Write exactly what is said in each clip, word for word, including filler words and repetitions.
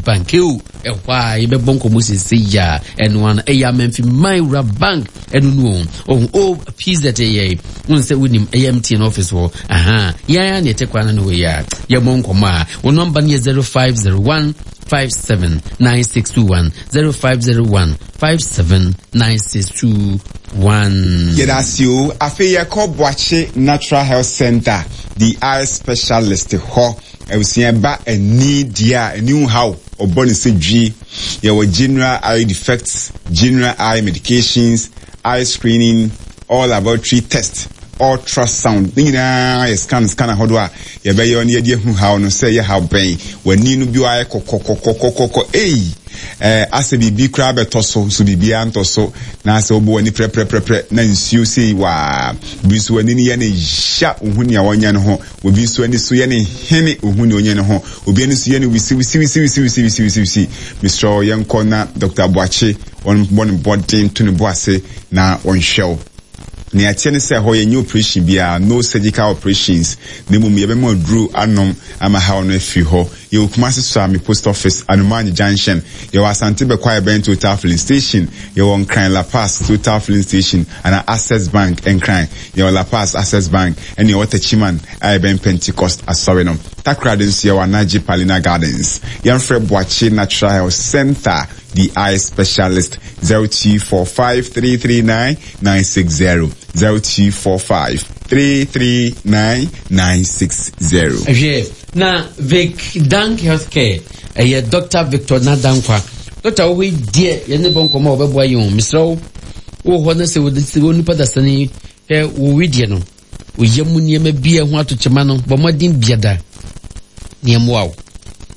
Bank o. Ɛhɔ a yɛbɛbɔ nkɔmmɔ sese ya ɛno ano ɛyɛ Amenfi Man Wura Bank ɛno no o o P Z yɛ wɔn sɛ wonim ɛyɛ M T N office hɔ aha yɛn a na yɛte kwan no wɔ yi a yɛbɔ nkɔmmɔ a wɔn nɔmba no yɛ zero five zero one five seven nine six two one, zero five zero one five seven nine six two one. Yɛda ase o. Afei yɛkɔ Boakye Natural Health Center, the eye specialist hɔ. Abusua ba ani deɛ a ani ho haw ɔbɔ ne sɛ dwi. Yɛwɔ general eye defects, general eye medications, eye screening, all laboratory test, ultrasound ne nyinaa yɛ scan scan ahodoɔ a yɛbɛyɛ no yɛde ahu haw no sɛ ɛyɛ haw bɛn. W'ani no bi ayɛ kɔkɔkɔkɔkɔkɔ ei, ɛɛ asɛ biribi koraa bɛtɔ so nso biribiara ntɔ so na asɛ wobɔ w'ani prɛprɛprɛprɛ na nsuo sei waa. Bi nso w'ani no yɛ ne ya, ohu nea wɔnyɛ no ho. Obi nso ani so yɛ ne hene, ohu nea ɔnyɛ ne ho. Obi ani so yɛ no wisi wisi wisi wisi wisi wisi wisi wisi. Mesrɛ yɛnkɔ na Doctor Aboakye wɔn bɔ ne bɔden to ne bo ase na wɔnhwɛ wo. Nea ɛteɛ ne sɛ hɔ yɛnyɛ operation biara, no surgical operations, na mmom yɛbɛma aduro anom ama haw no afiri hɔ. Yɛwɔ Kumase Suame Post Office, Anomanye Junction. Yɛwɔ Asante Bɛkɔ ɛbɛn Total Filling Station. Yɛwɔ Nkran La Paz Total Filling Station ana Access Bank Nkran. Yɛwɔ La Paz Access Bank, ɛne yɛwɔ Techiman a ɛbɛn Pentecost asɔre no. Takoradi nso yɛwɔ Anagye Palina Gardens. Yɛmfrɛ Boakye Natural Health Center, the eye specialist, zero two four five three three nine nine six zero, zero two four five three three nine nine six zero. Hwɛ na Vic Dank Healthcare, ɛyɛ Doctor Victor Nadankwa. Doctor wɔ hɔ yi deɛ, yɛne bɔ nkɔmmɔ a wɔbɛboa yɛn o. Mesrɛ wo, wɔ hɔ no sɛ wɔ nipa dasani hwɛ wɔ wedeɛ no oyɛ mu nneɛma bi a ho ato kyema no, bɔ mmɔden biada nneɛmoa wo,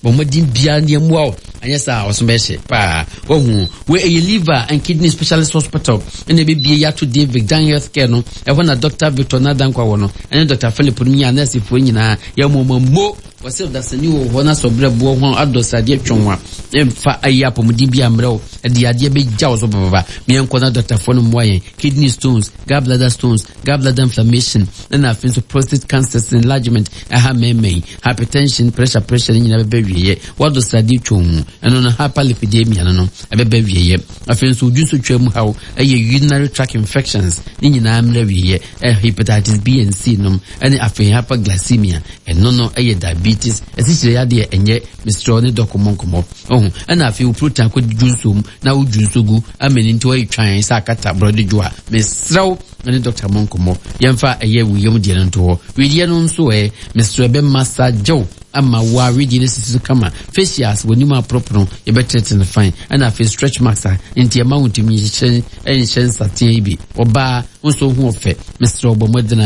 bɔ mmɔden biara nneɛmoa wo, anyɛ saa ɔso bɛhyɛ paa. Wahu wei ɛyɛ Liver and Kidney Specialist Hospital ɛna ɛbɛbie yɛato din Vicdan Healthcare no. Ɛhɔ na Doctor Victor Nadankwa wɔ no, ɛne Doctor Philip no nyinaa, nɛɛsefoɔ nyinaa yɛmmɔmɔ mo. Wɔsɛ ɔdasani wɔ hɔ na sɛ ɔbrɛ boɔ ho adɔ sradeɛ twɛn a ɛmfa ayi apɔmuden bi ammerɛ wo, ɛde adeɛ bɛgya wo so papapa. Meɛnkɔ na dɔktafoɔ no mmoa yɛn. Kidney stones, gallbladder stones, gallbladder inflammation, ɛna afei nso prostate cancers enlargement ɛha mɛɛmɛn, hypertension, pressure pressure ne nyinaa bɛbɛ wieɛ. Wadɔ sradeɛ twɛn mu ɛno no hyperlipidemia no no ɛbɛbɛ wieɛ. Afei nso odwu nso twa mu haw, ɛyɛ urinary tract infections ne nyinaa mmerɛ wieɛ. Ɛ hepatitis B and C nom, ɛne afei hyperglycemia, ɛno no ɛyɛ diabetes, ɛsikyerɛ yadeɛ ɛnyɛ. Mesrɛ ne dɔkɔ mɔ nkɔmmɔ ɔho. Ɛna afei wo protein akɔ dwu nsuom na wodwu nsuo gu ama ne nti wɔyɛ twan sɛ akata borɔde dwo a, mesrɛ wo ne dɔkta mɔ nkɔmmɔ. Yɛmfa ɛyɛ wo yam deɛ no nto hɔ. Wedeɛ no nso ɛ mesrɛ bɛma sa gyew ama wo a wedeɛ no sisi so kama. Facials, w'anim aporoporo, yɛbɛtete no fine. Ɛna afei stretch marks a nti ɛma wo ntumi nhyɛ nhyɛ nsateɛ yi bi. Ɔbaa nso ho ɔfɛ, mesrɛ wo bɔ mmɔden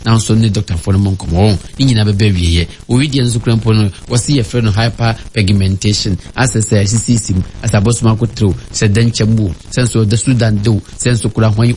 na nso ne dɔktafoɔ no mɔ nkɔmmɔ. Ne nyinaa bɛbɛ wieɛ. Owideɛ nso kura mpo no wɔsi yɛfrɛ no hyper pigmentation, asɛ sɛ asisisi mu asɛ abɔsoma akoterew sɛ dɛnkyɛm wo sɛ nso ɔda Sudan dew sɛ nso kura hwan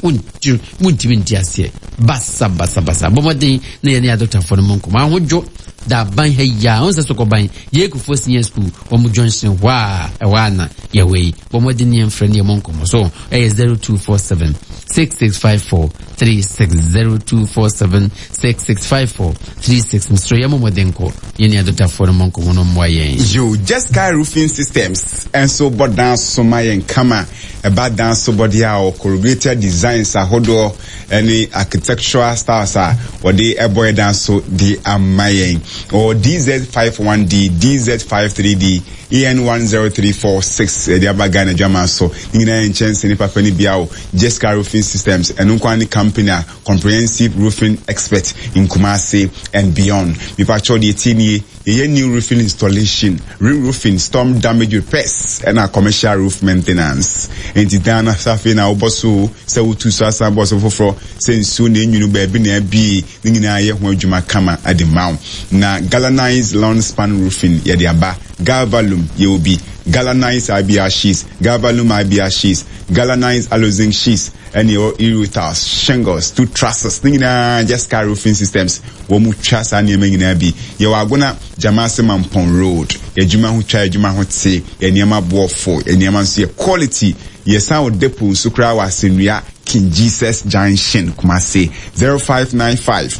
muntumi nte aseɛ basa basa basa. Bɔ mmɔden na yɛne adɔktafoɔ no mɔ nkɔmmɔ. Ahodwo da aban ha yi a ɔn sɛ Sokɔban yɛkufoɔ Senior School wɔn junction hɔ a ɛhɔ ana yɛwɔ yi. Bɔ mmɔden ne yɛmfrɛ ne yɛmɔ nkɔmmɔ so ɛyɛ zero two four seven six six five four three six, zero two four seven six six five four three six. Mesrɛ yɛmmɔ mmɔden kɔ yɛne adɔktafoɔ no mɔ nkɔmmɔ no mmoa yɛn. Yo, Jessica Roofing Systems ɛnso bɔ dan so ma yɛn kama. Ɛba dan so bɔde a corrugated designs ahodoɔ ɛne architectural styles a wɔde ɛbɔ yɛ dan so de ama yɛn. Ɔwɔ D Z five one D, D Z five three D, E N one zero three four six ɛde aba Ghana adwama so. Ne nyinaa yɛ nkyɛnse ne papa ne bia o. Jessica Roofing Systems ɛno nko ne company a comprehensive roofing expert in Kumasi and beyond. Mipakyɛw deɛ tie nie, yɛyɛ new roofing installation, re-roofing, storm damage repairs, ɛna commercial roof maintenance. Nti dan na afei na wobɔ so sɛ wotu so asan bɔ so foforɔ, sɛ nsuo na enwunu baabi na abie, ne nyinaa yɛ ho adwuma kama ade ma wo. Na galvanized long span roofing yɛde aba. Galvalume yɛwɔ bi, galvanized I B R sheets, galvalume I B R sheets, galvanized aluzinc sheets, ɛne ɛwɔ e-roofers, shingles, two trusses ne nyinaa. Jessica Roofing Systems wɔn mu twa saa nneɛma nyinaa bi. Yɛwɔ Agona Jamase Mampɔn Road. Yɛadwuma ho twa, yɛadwuma ho te, yɛ nneɛma boɔfo, yɛ nneɛma nso yɛ quality. Yɛsan wɔ depot nso koraa wɔ Asennua King Jesus Junction, Kumase. zero five nine five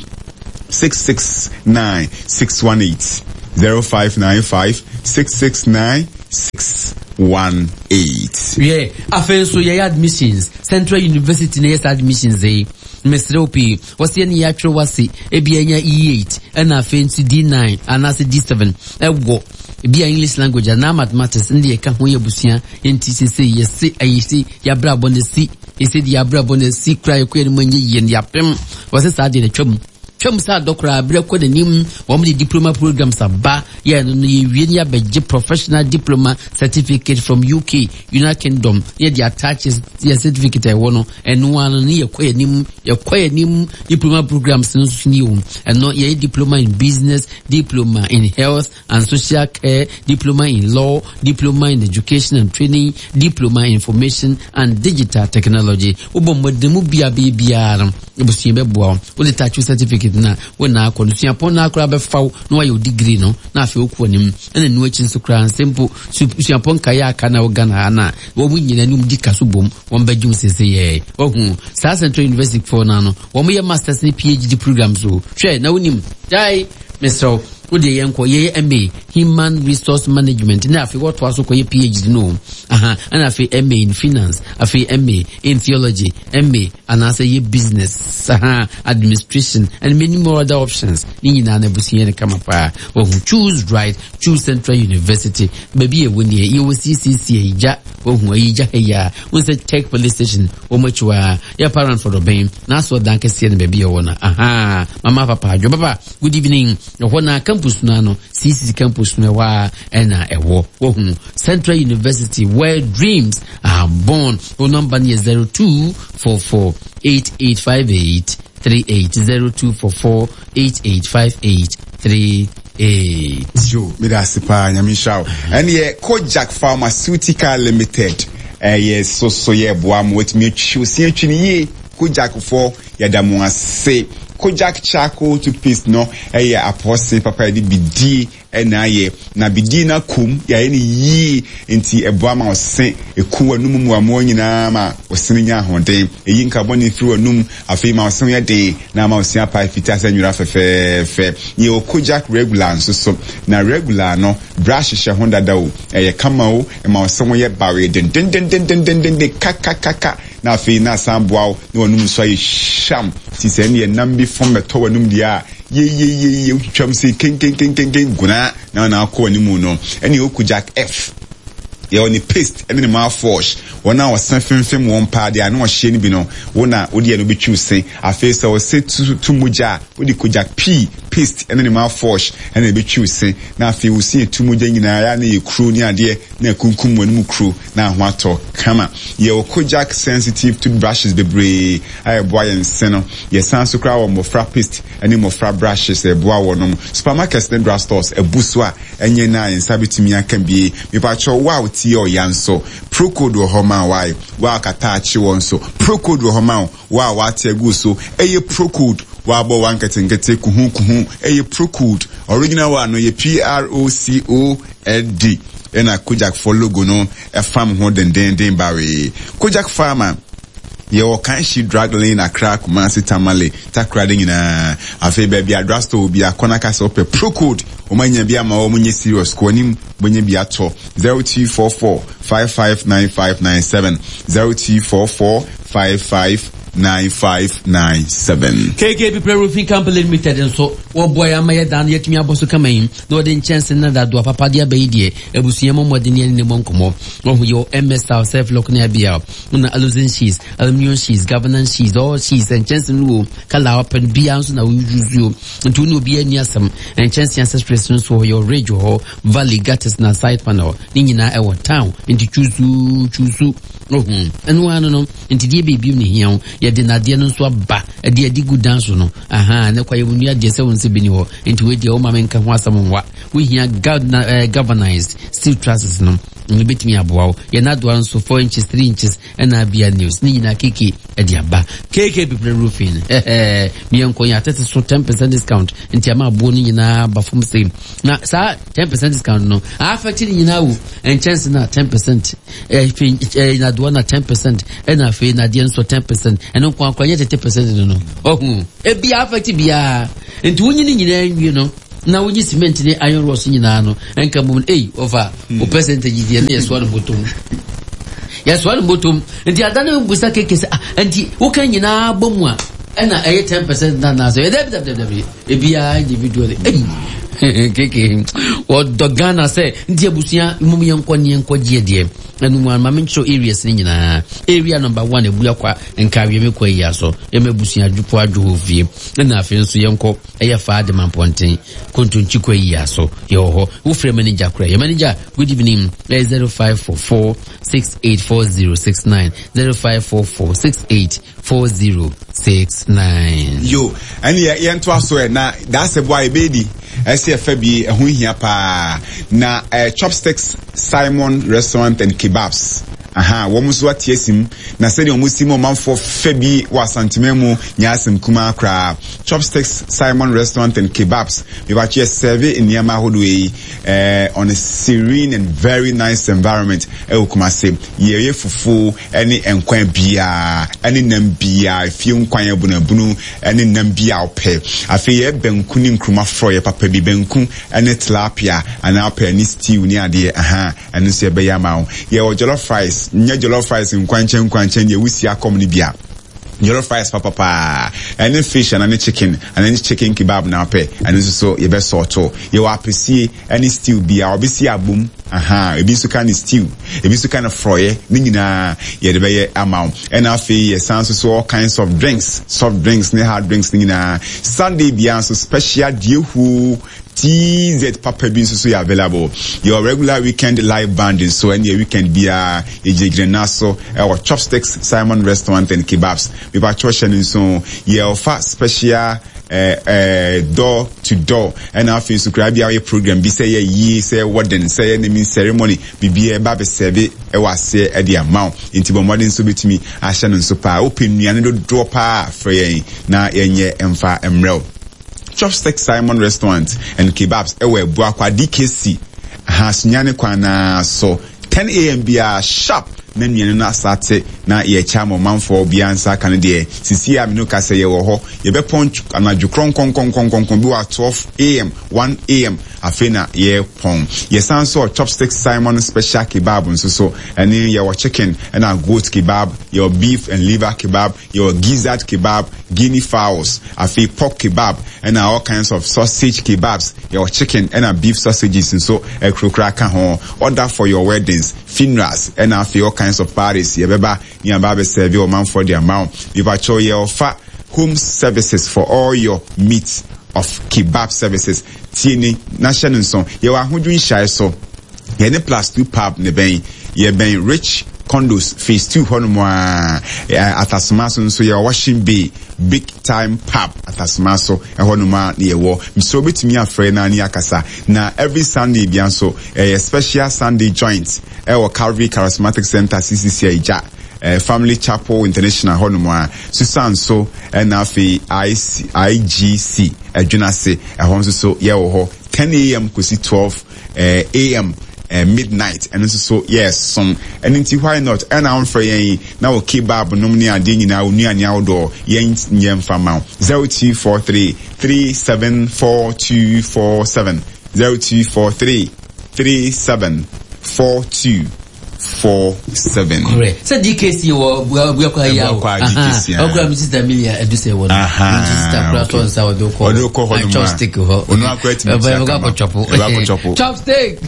six six nine six one eight, zero five nine five six six nine six one eight. Yeah, afei nso yɛyɛ admissions. Central University na yɛ saa admissions yi. Mesrɛ wo pii, wɔsɛ yɛne yɛatwerɛ wase ebi anya E eight ɛna afei nso D nine anaasɛ D seven ɛwɔ ebi a English language anaa mathematics ne deɛ ɛka ho yɛ abusua. Nti sese yɛse ayi se yɛabrabɔ no si yɛsɛ deɛ yɛabrabɔ no si kora yɛkɔ yɛn mu nyɛ yie no yɛapem. Wɔsɛ saa deɛ no twam twam sɛ adɔkora aberɛ kɔ n'anim. Wɔn de diploma programs aba yɛ no no yɛwie ne yɛabɛgye professional diploma certificate from U K, United Kingdom, ne yɛde attach yɛ certificate a ɛwɔ no ɛno ano ne yɛkɔ yɛn anim, yɛkɔ yɛn anim. Diploma programs no nso ni o. Ɛno yɛyɛ diploma in business, diploma in health and social care, diploma in law, diploma in education and training, diploma in information and digital technology. Wobɔ mmɔden mu bia biara no, abusua bɛboa wo. Wode touch certificate na wo na akɔ no suapɔn no akora bɛfa wo na wayɛ wo degree no na afei wokɔ anim. Ɛna nu akyi nso koraa nsɛm mpo suapɔn nkaeɛ aka na wo Ghana ha no a wɔn nyinaa ne di ka so bom wɔn bɛgye wo sese yɛ wahu saa Central University foɔ no ano wɔn yɛ masters ne P H D programs o. Hwɛ na wonim gyae, mesrɛ wo, wode yɛn kɔ yɛyɛ M A Human Resource Management na afei wɔtoa so kɔyɛ P H D no aha, ɛna afei M A in Finance, afei M A in Theology, M A anaasɛ yɛ Business aha, Administration and many more other options. Ne nyinaa no abusua no kama paa. Wahu, choose right, choose Central University. Baabi yɛwɔ nie, yɛwɔ C C C Ayigya. Wahu Ayigya ha yi a wo sɛ Tech Police Station wɔn akyi hɔ a yɛ parent for dɔbɛn na asɔ dan kɛseɛ no baabi yɛwɔ no aha. Mama papa adwo papa, good evening. Ɛhɔ na campus no ano, C C C campus no ɛhɔ a ɛna ɛwɔ. Wahu, Central University, where dreams are born. Wo number no yɛ zero two four four eight eight five eight three eight, zero two four four eight eight five eight three eight. Yo, meda ase paa, Nyame nhyira wo. Ɛneɛ Kojak Pharmaceutical Limited ɛyɛ soso yɛ boa ma watumi atwi osi atwi no yie. Kojak foɔ, yɛda mo ase. Kojak charcoal toothpaste no ɛyɛ apɔse papa, yɛde bidie ɛna ayɛ na bidie no akom, yɛayɛ no yie nti ɛboa ma ɔse ɛku w'anum mmoamoa nyinaa ma ɔse no nya ahoɔden, ɛyi nkabɔne firi w'anum, afei ma ɔse yɛ den na ama ɔse apae fitaa sɛ nwera fɛfɛɛfɛ. Yɛwɔ Kojak Regular nso so, na regular no brush hyɛ ho dada o, ɛyɛ kama o, ɛma ɔse ho yɛ bawe dendendendendendenden kakakaka na afei na asan boa wo na w'anum nso ayɛ hyam ti sɛ ɛne ɛnam bi fam bɛtɔ w'anum deɛ a yeyeyeye wotwitwam sɛ kenkenkenkenken gunaa na na akɔ w'anim no. Ɛne ɛwɔ Kojak F, yɛwɔ ne paste ɛne ne mouthwash. Wɔn a wɔsɛn femfem wɔn paa deɛ ano ɔhyɛ no bi no, wo na wode ɛno bɛtwiw se. Afei sɛ wɔsɛ tu tu mogya a, wode Kojak P paste ɛne ne mouthwash ɛna ɛbɛtwiw se na afei wosi etu mogya nyinaa yɛ na yɛ kuro ne adeɛ na ekunkum wɔn mu kuro na aho atɔ kama. Yɛwɔ Kojak Sensitive toothbrushes bebree a ɛboa yɛn se no. Yɛsan so koraa wɔ mmɔfra paste ɛne mmɔfra brushes a ɛboa wɔn. Supermarkets ne drugstores ɛbu so a ɛnyɛ na yɛn nsa bɛtumi aka bie. Mipakyɛw, wo a wotie ɔya nso, Procold wɔ hɔ ma wae. Wo a kata akye wɔ nso, Procold wɔ hɔ ma wo. Wo a wate agu so, ɛyɛ Procold. Wabɔ wa nketenkete kuhu kuhu, ɛyɛ Procold. Original one no yɛ P R O C O L D ɛna Kojak fo logo no ɛfam ho dendenden bawee. Kojak Pharma, yɛwɔ Kanshi Drug Lane, Accra, Kumasi, Tamale, Takoradi nyinaa. Afei baabi a drugstore bi akɔnaka sɛ wopɛ Procold, wɔn anya bi ama wɔn nyɛ serious kɔ anim wɔnyɛ bi atɔ. Zero two four four five five nine five nine seven, zero two four four five five nine five nine seven. K K P Pre Roofing Company Limited nso wɔboa yɛn ama yɛdan no yɛtumi abɔ so kama yi na wɔde nkyɛnse na dadoa papa de aba yi deɛ, abusua mu mmɔden yɛne ne mmɔ nkɔmmɔ. Wɔho yɛ M S style, self lock ne abia na aluzinc sheets, aluminium sheets, governance sheets, all sheets. Nkyɛnse no wɔ colour a wɔpɛ no biara nso na wɔyi o, nti wo ne obiara ani asɛm. Nkyɛnse accessories nso wɔ yɛ ridge wɔ hɔ, valley gutters na side panel ne nyinaa ɛwɔ town, nti twusu twusu ohun ɛno ano no. Nti deɛ biribi ne hia wo, yɛde nadeɛ no nso aba ɛde adi gu dan so no aha ne kwa yɛwɔ nnua deɛ sɛ wo nsɛ bi ni hɔ. Nti wei deɛ woma me nka ho asɛm nwa. Wohia galvanized steel trusses no, ɛno bɛtumi aboa wo. Yɛn adoa nso four inches, three inches ɛna abia news ne nyinaa keke ɛde aba. K K Pepere Roofing ɛhɛɛ miɛnkɔ yɛn atete so ten percent discount, nti ama aboɔ no nyinaa ba fam sɛ na saa ten percent discount no affect ne nyinaa wo nkyɛnse na ten percent, ɛfɛ ɛɛ nadoa na ten percent ɛna afei nadeɛ nso ten percent. Ɛno nko akora nyɛ thirty percent no no ɔhu ebi affect biara, nti wonyi ne nyinaa nwie no Na wonyi cement ne iron rods nyinaa no ɛnka bom ei ɔfa o percentage deɛ ne yɛsoa no bɔtɔm yɛsoa no bɔtɔm. Nti ada no busa keke sɛ, ah, nti woka nyinaa bɔ mu a ɛna ɛyɛ ten percent na na sɛ ɛdɛbi dɛbi dɛbi ebiara individual ei keke wɔdɔ Ghana sɛ. Nti abusua mmom yɛnkɔ ne yɛnkɔ gyeɛ deɛ ɛno mu ama menkyerɛ areas ne nyinaa. Area number one, Abua Kwa Nkawie me kɔ yi aso ɛma abusua adwofo adwo hɔ fie. Ɛna afei nso yɛnkɔ ɛyɛ faa de mampɔnten kontonkyi kɔ yi aso yɛwɔ hɔ. Wofrɛ manager kora yɛ manager, good evening, ɛyɛ zero five four four six eight four zero six nine, zero five four four six eight four zero six nine. Yo, ɛne yɛ yɛntoa so ɛ na daasɛ boa yɛbɛdi ɛsɛ ɛfɛ bi ɛho hia paa na eh, Chopsticks Simon Restaurant and Kebabs, aha, wɔn nso ate asim na sɛdeɛ wɔn si mu ɔmanfoɔ fɛ bi wɔ Asanteman mu nyɛ asɛm kumaa koraa. Chopsticks Simon Restaurant and Kebabs, mebatwe yɛ serve nneɛma ahodoɔ yi eh, on a serene and very nice environment ɛwɔ Kumase. Yɛyɛ fufuo ɛne nkwan biara ɛne nam biara, efie nkwan abunabunu ɛne nam bi a ɔpɛ. Afei yɛ banku ne nkuruma frɔyɛ papa bi, banku ɛne tilapia anaa ɔpɛ ne stew ne adeɛ, aha, ɛno nso yɛbɛyɛ ama wo. Yɛwɔ jollof rice, nyɛ jollof rice nkwankyɛn nkwankyɛn deɛ wusi akɔm no bia, jollof rice papapaa ɛne fish ana ne chicken ana ne chicken kebab na ɔpɛ, ɛno nso so yɛbɛsɔɔto. Yɛwɔ apɛsie ɛne stew bia ɔbɛsi abom, aha, ebi nso ka ne stew, ebi nso ka ne frɔyɛ, ne nyinaa yɛde bɛyɛ ama wo. Ɛna afei yɛsan nso so all kinds of drinks, soft drinks ne hard drinks ne nyinaa. Sunday bia nso special diehuo T Z papa bi nso so yɛ available. Yɛwɔ regular weekend live band nso, ɛne yɛ weekend biara yɛgyinagyina na so ɛwɔ Chopsticks Simon Restaurant and Kebabs. Mepakyɛw hyɛ no nso, yɛɔfa special eh, eh, door to door. Ɛna afei nso koraa bi a wɔyɛ program bi sɛ yɛ yie, sɛ wedding, sɛ yɛ naming ceremony, biribiara ɛba abɛsɛbe ɛwɔ aseɛ ɛde ama wo. Nti bɔ mmɔden nso bɛtumi ahyɛ no nso paa. Wopɛ nnuane dodoɔ paa, frɛ yɛn na yɛnyɛ mfa mmerɛw. Chopstick Simon Restaurant and Kebabs ɛwɔ Abuakwa D K C ha, Sunyane kwan naa so. ten a m biara sharp na nnuane no asate na yɛkyɛ ama ɔmanfoɔ. Obiara nsa aka no deɛ sisi a mene ka sɛ yɛwɔ hɔ, yɛbɛpɔn anadwo krɔnkɔnkɔnkɔnkɔn bi wɔ twelve a m, one a m afei na yɛpɔn. Yɛsan so Chopstick Simon special kebab nso so, ɛne yɛwɔ chicken ɛna goat kebab, yɛwɔ beef and liver kebab, yɛwɔ gizzard kebab, guinea fowls, afei pork kebab ɛna all kinds of sausage kebabs. Yɛwɔ chicken ɛna beef sausages nso ɛkurokura ka ho. Order for your weddings, funerals ɛna afei all kinds of parties, yɛbɛba ne aba abɛsɛbi ɔmanfoɔ de ama wo. Mepakyɛw, yɛwɔfa home services for all your meat of kebab services. Tie ni na hyɛ no nso, yɛwɔ Ahodwo Nhyiaeɛ so, yɛne Plus Two Pub ne bɛn, yɛbɛn Rich Condos Phase Two hɔnom a. Atasoma so nso yɛwɔ Washing Bay Big Time Pub, Atasoma so ɛhɔnom a ne yɛwɔ. Mesrɛ wobɛtumi afrɛ na ne akasa. Na every Sunday bia nso ɛyɛ special Sunday joint ɛwɔ Calvary Charismatic Center, C C C Agya eh, Family Chapel International hɔnom a Susan so, ɛna afei I C, I G C Adwunase ɛhɔ nso so yɛwɔ hɔ ten a m kɔsi twelve eh, a m, eh, midnight, ɛno nso so yɛsom. Ɛno nti why not ɛna womfrɛ yɛn na wɔ kebab nom ne adeɛ nyinaa, wo nnuane ahodoɔ yɛn nyɛ mfa ma wo. zero two four three three seven four two four seven, zero two four three three seven four two four seven. Correct, sɛ D K C wɔ Abuakwa yi a o, ɔkura mi sister Milia ɛdu sɛ wɔ no nti sister kura sɔ nsa ɔde kɔ ɔde kɔ hɔ nom a chopstick hɔ. Ɔno akora tumi ɔbɛ tia ɛbɛ kama akɔ chɔpo. Ɛbɛ akɔ chɔpo. Chopstick,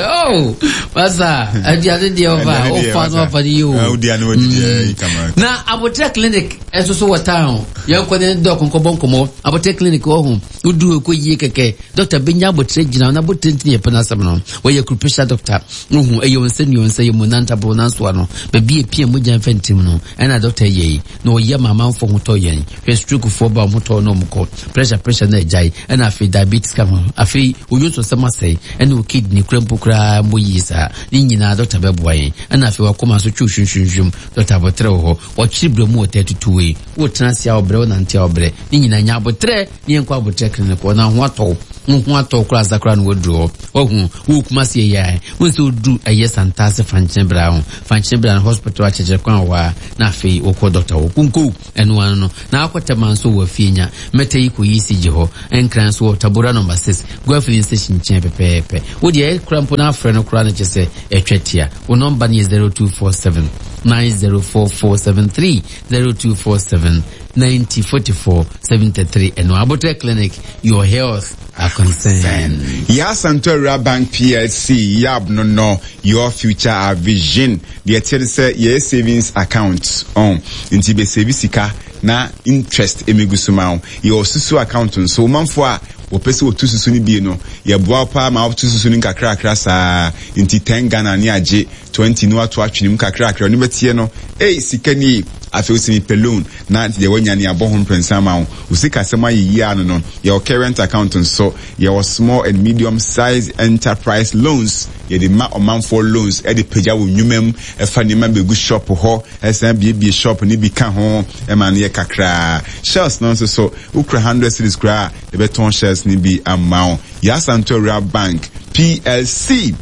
oh masa, aduane deɛ ɔfa Aduane deɛ, ɔfa no masa. ɔfa no yie o. Ah, wodi ano wodi deɛ yi kama. Na Abotire Clinic ɛnso so wɔ town, yɛn kɔ ne doc nkɔbɔ nkɔmɔ. Abotire Clinic wɔ ho wodu ekɔ yie kɛkɛ, doctor benya abotire gyina na abotire ntini yɛ pɛ n'asɛm no. Wɔyɛ acupressure doctor wohu ɛyɛ wɔn nsa nua nsa yɛ mu nantaboro nansoa no baabi epia mogya nfa ntim no, ɛna doctor yɛ yi na ɔyɛ ma amanfoɔ ho tɔ yɛn. Hwɛ, stroke foɔ ba wɔn ho tɔ na wɔn kɔ, pressure pressure na agyae, ɛna afei diabetes ka ho, afei onyo nsɔsɛm asɛe, ɛna o kidney kura mpo koraa mbɔ yie saa ne nyinaa doctor bɛboa yɛn. Ɛna afei wakoma nso twi hwimhwimhwim, doctor Abotire wɔ hɔ. Wɔkyere brɛ mu wɔ tɛ tutu wei wotena ase a ɔbrɛ, wonante a ɔbrɛ, ne nyinaa nya abotrɛ ne yɛnkɔ Abotrɛ Clinic hɔ na ho atɔw. Wo ho atɔ koraa sakra no waduru hɔ. Wahu wo Kumasi yɛ wo nso duru ɛyɛ Santase Fankyene bra ho. Fankyene bra no hospital akyerɛkyerɛ kwan wɔ a na afei wokɔ doctor wɔ kunko ɛno ano no. Na akɔtɛma nso wɔ afie nya. Mɛtɛ yi kɔ yi si gye hɔ. Nkran nso wɔ Tabora number six. Goil filling station nkyɛn pɛpɛɛpɛ. Wo deɛ kura mpo na afrɛ no kura no kyɛ sɛ ɛtwa tia. Wo nɔmba no yɛ zero two four seven nine zero four four seven three zero two four seven ninety forty four seventy three. Ɛno Abotre Clinic, your health our concern. Yasanto Bank P L C Yab no no your future our vision. The say your savings account on nti be save sika na interest emegusuma your susu account so manfo a wɔpɛ sɛ wɔtu susu no bie no yɛboa paa ma wotu susu no nkakrakra saa nti ten Ghana ne agye twenty no ato atwenem kakrakra no bɛtie no ei sika ni afei wo pɛ loan na deɛ wanya ne abɔ ho mprensa ma wo wo sika sɛm ayɛ yie ano no yɛwɔ current account nso yɛwɔ small and medium size enterprise loans yɛde ma ɔmanfoɔ loans ɛde pagya wo nnwuma mu ɛfa nneɛma bɛgu shop hɔ ɛsan biebie shop ne bi ka ho ɛma no yɛ kakraa shells no nso so wokura hundred cedis koraa yɛbɛtɔn shares ne bi ama wo Yasanto Rural Bank P L C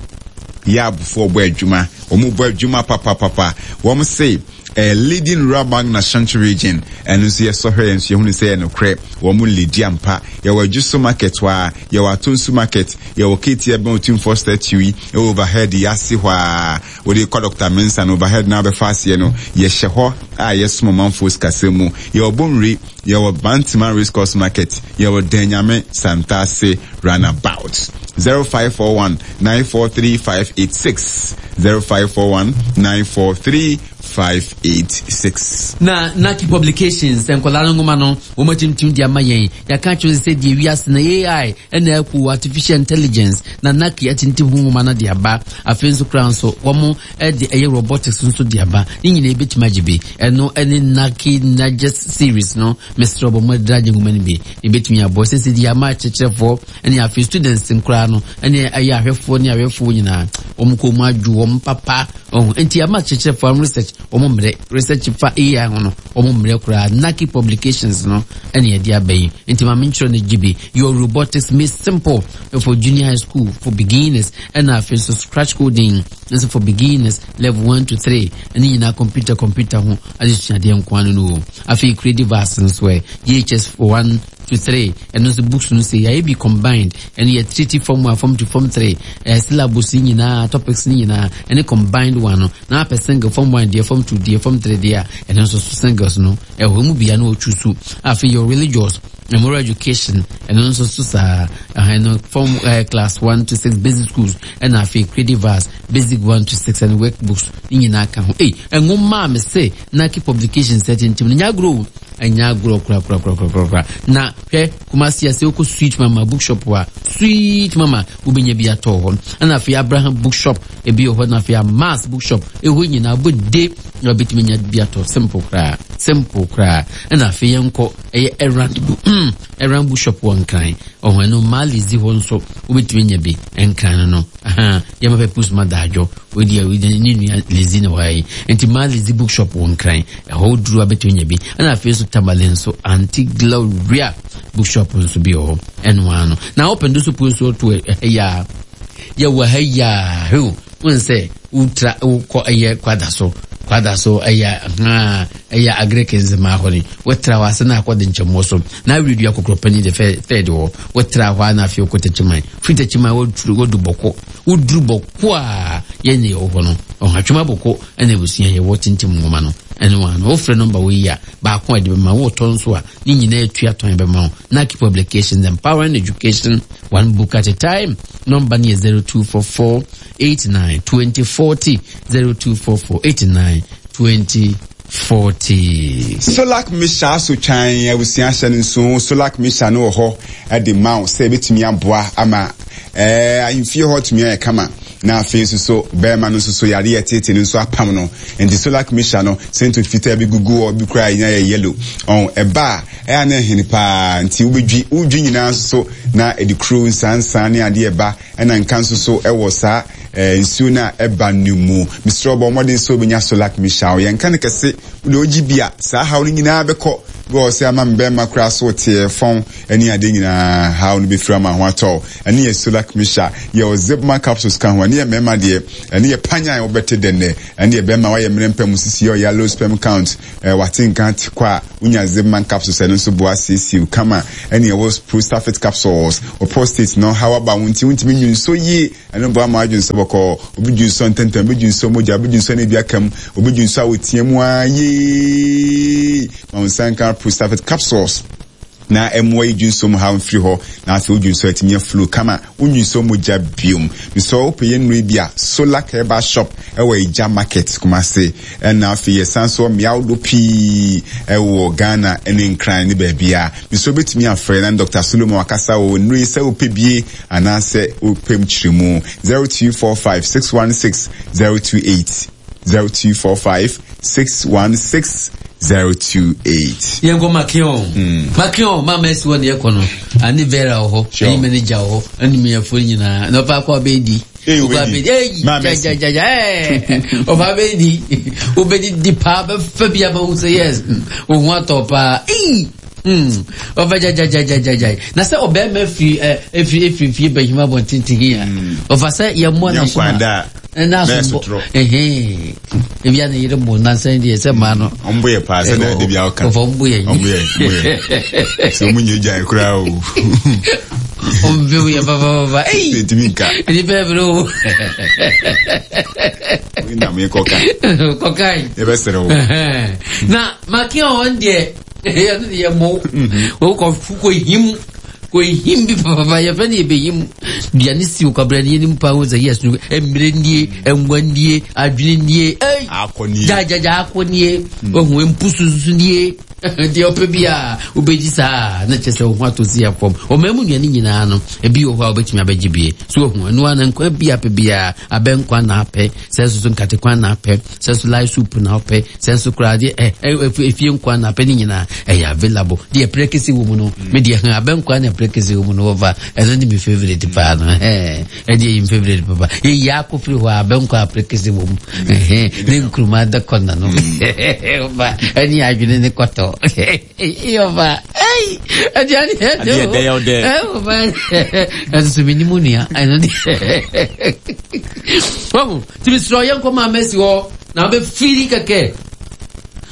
yɛabofoɔ bɔ adwuma wɔn bɔ adwuma papapapa wɔn se eh, leading rural bank na Ashanti region ɛno nso yɛsɔhwɛ yɛn nso yɛhunu sɛ yɛ nokorɛ wɔn leadi ampa yɛwɔ Adwuso market hɔ a yɛwɔ Atonsu market yɛwɔ K T ɛbɛn Otumfoɔ statue yi ɛwɔ overhead yɛase hɔ a wɔde kɔ Doctor Mensah no overhead na abɛfa aseɛ no yɛhyɛ hɔ a yɛsom ɔmanfoɔ sikasɛm mu yɛwɔ Bonwire yɛwɔ Bantima Race Course Market yɛwɔ Danyame Santase runabout zero five four one nine four three five eight six zero five four one nine four three five eight six. Na Naki Publications nkola no ngoma no wo matimtim di ama yen ya ka kyerɛ sɛ die wiase na A I ɛna ɛko artificial intelligence na Naki atintim ho ngoma no de aba afei nso kra nso wo mo ɛde ɛyɛ robotics nso de aba ne nyina ebetima gye bi ɛno ɛne Naki Nages series no Mister Obomo drage ngoma no bi ebetumi abɔ sɛ sɛ di ama kyerɛkyerɛfoɔ ɛne afei students nkra no ɛne ɛyɛ ahwɛfoɔ ne ahwɛfoɔ nyinaa wɔn kɔ mu adwo wɔn papa ɔho enti ama kyerɛkyerɛfoɔ research wɔn mmerɛ research fa A I ho no wɔn mmerɛ koraa Naki Publications no ɛne yɛde aba yi enti maame nkyerɛ no gye bi your robotics made simple for junior high school for beginners ɛna afei nso scratch coding nso for beginners level one to three ɛne nyinaa computer computer ho adesuadeɛ nko ano no afei creative arts nso ɛ G H S one to three and also books no say ya be combined and yɛ treaty form one form two form three eh syllabus nyinaa topics nyinaa and combined one no na per single form one deɛ form two deɛ form three deɛ and also singles no ɛwɔ mu bia no ochusu afei your religious and moral education and also so sa uh, form uh, class one to six basic schools and afei creative arts basic one to six and workbooks nyinaa ka ho eh nwoma me say Naki Publications certain team nya grow anya grow kura kura kura kura kura na hwɛ Kumasi ase okɔ Sweet Mama bookshop wa Sweet Mama wobenya bi atɔ hɔ na afei Abraham bookshop ebi hɔ na afei Mass bookshop eho nyina bode na obetumi nya bi atɔ simple kra simple kra na afei yɛnkɔ ɛyɛ Errand book Errand bookshop wɔ Nkran ɔho no Mali zi hɔ nso wobetumi nya bi Nkran no aha yɛma pɛ push ma daadwo odi a odi ne nua lezi na wai enti Mali zi bookshop wɔ Nkran ɛhɔ duru abetumi nya bi na afei nso Tamale nso Auntie Gloria bookshop nso bi hɔ ɛno ano na open do so po nso to ya ya wa ha ya ho won sɛ utra wokɔ ɛyɛ kwada so kwada so ɛyɛ ha ɛyɛ agric ma hɔ ni wotra wa se na akɔde nkyɛmmo so na awiri akokropani de third hɔ wotra hɔ na afei okɔtɛkyiman fitɛkyiman woduru wodu bɔkɔ woduru bɔkɔ a yɛne wɔ hɔ no ɔhatwema bɔkɔ ɛna ebusua yɛ wɔ tintim nwoma no ɛne wa no wofrɛ nɔmba wo yi a baako a de bɛma wo tɔ nso a ne nyinaa atua tɔn bɛma wo Naki Publications empowering education one book at a time nɔmba no yɛ zero two four four eight nine twenty forty zero two four four eight nine twenty forty. Solak Misha so twan abusua hyɛ no nso Solak Misha no wɔ hɔ ɛde ma wo sɛ ebetumi aboa ama eh ahemfie hɔ tumi ayɛ kama na afei nso so bɛrima no nso so yare yɛ tete no nso apam no nti Solak Misha no sento fitaa bi gugu hɔ bi kura nya yɛ yellow ɔn ɛba ɛyɛ na ɛhene paa nti wobɛdwi wodwi nyinaa nso so na ɛde kuro nsansan ne adeɛ ɛba ɛna nka nso so ɛwɔ saa nsuo na ɛba ne mu Mister Obo mmɔden so bɛnya Solak Misha yɛnka no kɛse wode ogyi bia saa haw no nyinaa bɛkɔ Bi wɔ sɛ ama mbɛrima koraa so teɛ fɔn ɛne ade nyinaa haw no bɛfiri ama ho atɔ. Ɛne yɛ Solar Misha, yɛwɔ Zipman capsules ka ho. Ɛne yɛ mmarima deɛ, ɛne yɛ panyan wobɛte dɛnɛ. Ɛne yɛ bɛrima wayɛ mmerɛ mpɛ mu sisi yɛ ɔyɛ low sperm count, eh, wate nka te kɔ a wonya Zipman capsules, ɛno nso boa siesie kama. Ɛne yɛwɔ Prostafit capsules, wɔ prostate no haw aba wo nti wontumi nwi nso yie, ɛno boa ma adwene sɛ bɔkɔɔ. Obi dwi nsɔ ntɛntɛn, obi dwi nsɔ mogya, obi dwi nsɔ ne bi aka mu, obi dwi nsɔ a wotia mu a yee, ma wo nsa nka Prostafit capsules na ɛmmoa yi dwi nsɔ mu ha mfiri hɔ, na afei wodwi nsɔ atumi aflow kama, wonwi nsɔ mogya biom. Mesɛ wopɛ yɛ nnuro bi a, Solar Herbal Shop ɛwɔ Egya Market, Kumase, ɛna afei yɛsan so mmea ahodoɔ pii ɛwɔ Ghana ɛne Nkran ne baabi a mesɛ wobɛtumi afrɛ na Doctor Solomon akasa wɔ nnuro yi sɛ wopɛ bie anaasɛ wopɛ mu kyerɛ mu. Zero two four five six one six zero two eight, zero two four five six one six zero two eight. Yɛnkɔ Makion. Makion mama asi hɔ ne yɛkɔ no ane Vera wɔ hɔ. Sure. Ɛne manager wɔ hɔ ɛne mmeafoɔ nyinaa na ɔfa akɔ abɛdi. Ee, Ɔfa wobɛdi. abɛdi. Ei, Ma Mercy. gyagyagya, ɛɛ, ɔfa abɛdi, wobɛdidi paa, bɛfa bi ama wo sɛ yes, wo ho atɔ paa. Ei, mm, ɔfa gyagyagyagyagya na sɛ ɔbɛrima firi ɛ efiri efiri fie bɛhim abɔntenten yi a, ɔfa sɛ yɛmmɔ Nyɛ na so nkwan da a, ɛna na aso ɛsotorɔ. Ɛhɛn, ebi a ne yere bɔ nansan deɛ sɛ maa no. Ɔmbo yɛ paa sɛ de bi a ɔka. Ɔfa ɔmbo yɛ. Ɔmbo yɛ, ɔmbo yɛ sɛ ɔmo nyɛ gyae koraa o. Ɔmbo yɛ papapapa. Ei, ntumi nka. Nipa ɛbrɛ o. Nam yɛ kɔka. Kɔkae. Yɛbɛsrɛ wo. Na makia wɔn deɛ, yɛno de yɛ mo wokɔ kɔ him kɔ him bi papapa, yɛfrɛ no yɛbɛhim duane si wo kwabrɛ no yɛnim paa wo sɛ yes no, mmerɛ nie, ɛngwa nie, adwene nie, ei. Akɔ nie. Gyagyagya akɔ nie, ohu mpusu nso nie, deɛ ɔpɛ bi a wobɛgyi saa na kyerɛ sɛ wo ho atɔ si yɛ fam. Ɔman mu nnuane nyinaa no, ebi wɔ hɔ a wobɛtumi abɛgye bie so ohu ɛno a na nkwa bi apɛ biara, abɛnkwa na apɛ sɛ nso so nkate kwan na apɛ sɛ nso light soup na apɛ sɛ nso koraa deɛ ɛ ɛ efie nkwa na apɛ ne nyinaa ɛyɛ available. Deɛ prekese wɔ mu no, me deɛ hɛn abɛnkwa na prekese wɔ mu no, wɔfa ɛno ne me favourite paa no. Ɛhɛn, ɛdeɛ yɛ me favourite papa. Yɛyi akɔ firi hɔ a, abɛnkwa a prekese wɔ mu, ɛhɛn, ne nkuruma da kɔna no, wɔfa ɛne adwene ne kɔtɔ, yɔfa ɛyi aduane. Adeɛ dɛ yɛ wo dɛ. Ɛwɔ ɛno so menim nua ɛno deɛ wahu nti mesrɛ yɛnkɔ maa masi hɔ na wobɛfiri kɛkɛ.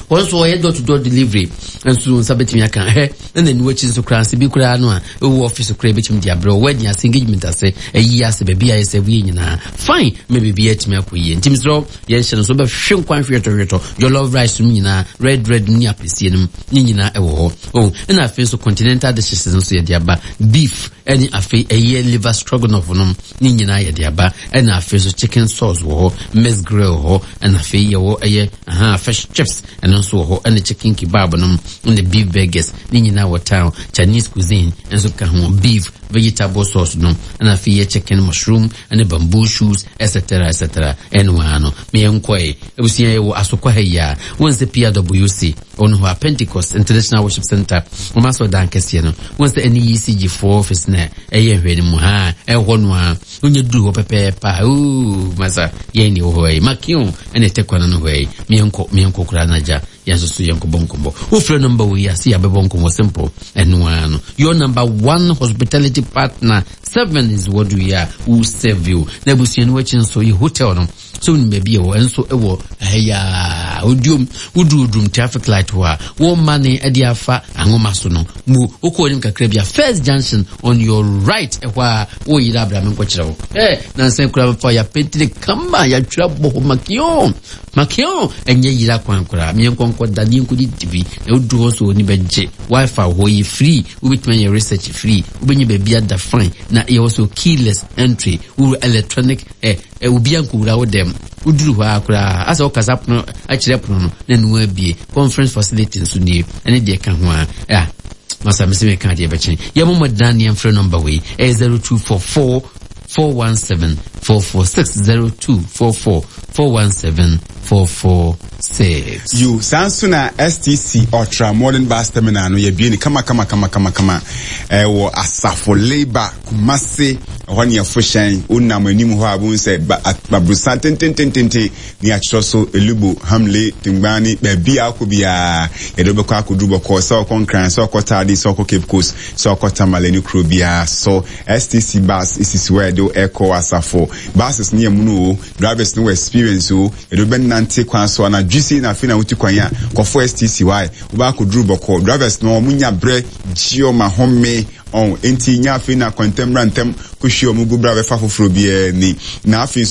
Wɔn nso wɔyɛ door to door delivery nso, nsa bɛtumi aka hɛ na n'ani akyi nso koraa sɛ bi koraa no a ɛwɔ office koraa bɛtumi de abrɛ, wedding ase, engagement ase, ayi ase, baabi a yɛ sɛ woyɛ nyinaa fine ma biribi atumi akɔ yie. Nti mesrɛ yɛnhyɛ no so, bɛhwe nkwan hwetɔhwetɔ, jollof rice no nyinaa, red red ne apɛsie no ne nyinaa ɛwɔ hɔ oh. Ɛna afei nso continental dishes nso yɛde aba, beef ɛne afei ɛyɛ liver stroganoff no ne nyinaa yɛde aba. Ɛna afei nso chicken sauce wɔ hɔ, mixed grill wɔ hɔ, ɛna afei yɛwɔ ɛyɛ aha fish chips, ɛno nso wɔ hɔ, ɛne chicken kebab nom ɛne beef burgers ne nyinaa wɔ town. Chinese cuisine nso ka ho, beef vegetable sauce no, ɛna afei yɛ chicken mushroom ɛne bamboo shoots, et cetera et cetera. Ɛno ara no meyɛ nkɔɛ abusua. Yɛwɔ Asokwa ha yi a wɔn sɛ P R W C ɔno hɔ a, Pentecost International Worship Center, wɔn asɔ dan kɛseɛ no, wɔn sɛ ɛne E C G foɔ office na ɛyɛ nhwɛ no mu ha. Ɛhɔ no a wonyɛ duru hɔ pɛpɛɛpɛ a, ooo masa, yɛn ne wɔ hɔ yi, Makion ɛna ɛtɛ kwan no hɔ yi. Miɛnkɔ miɛnkɔ koraa n'agya yɛn nso so yɛnkɔbɔ nkɔmmɔ. Wofrɛ number wɔ yi ase, yɛabɛbɔ nkɔmmɔ simple. Ɛno ara no, your number one hospitality partner seven is what we are, who serve you. Na abusua no akyi nso yɛ hotel no so, wonim baabi ɛwɔ ɛnso ɛwɔ ɛyà Oduom. Woduru Odum traffic light hɔ a, wɔn ne ɛde afa ahoma so no mu, wokɔ anim kakra bi a, first junction on your right, ɛhɔ a wɔyiri abrame nkɔkyerɛ wo. Ɛ nansan kura fa yɛapɛntire kama, yɛatwerɛ bɔ hɔ Makion. Makion ɛnyɛ yira kwan koraa. Miɛnkɔ nkɔ da ne yɛnkɔdi dibi na woduru hɔ so w'ani bɛgye. Wifi wɔ hɔ yi free, wobɛtumi ayɛ research free, wobɛnya baabi ada fine, na yɛwɔ so keyless entry, wowura electronic ɛ ɛ obiara nkɔwura wo dɛm. Woduru hɔ a koraa asɛ wokasa pono akyerɛ pono no na ɛno abie. Conference facility nso nie, ɛne deɛ ka ho a ɛ masa mese meka adeɛ bɛkyɛn. Yɛmɔmmɔ dan ne yɛmfrɛ number wei, ɛyɛ zero two four four four one seven four four six zero two four four four one seven four four six. Yo, saa nso na S T C Ultra Modern Bus Terminal no yɛbie ne kama kama kama kama kama ɛwɔ Asafo Labour, Kumase. Ɛhɔ ne yɛfo hyɛn wonam anim hɔ a bohu sɛ aborosan tententententen ne yɛatwerɛ so Elubo, Hamle, Tingbani. Baabi a akɔ biara yɛde wobɛkɔ akɔduru bɔkɔɔ, sɛ ɔkɔ Nkran, sɛ ɔkɔ Taadi, sɛ ɔkɔ Cape Coast, sɛ ɔkɔ Tamale ne kuro biara so. S T C bus esisi hɔ a yɛde ɛkɔ Asafo. Buses ne yɛ mu no o, drivers no wɔ experience o. Yɛde wobɛnante kwan so anadwo sei na afei na wotu kwan a kɔfo S T C hɔ a wobɛ akɔduru bɔkɔɔ. Drivers no ɔmo nya berɛ gye ɔmo ahome ɔn, enti nya afei na kɔntɛm bra ntɛm kɔhwie ɔmo gu bra bɛfa foforɔ biara ni na afei nso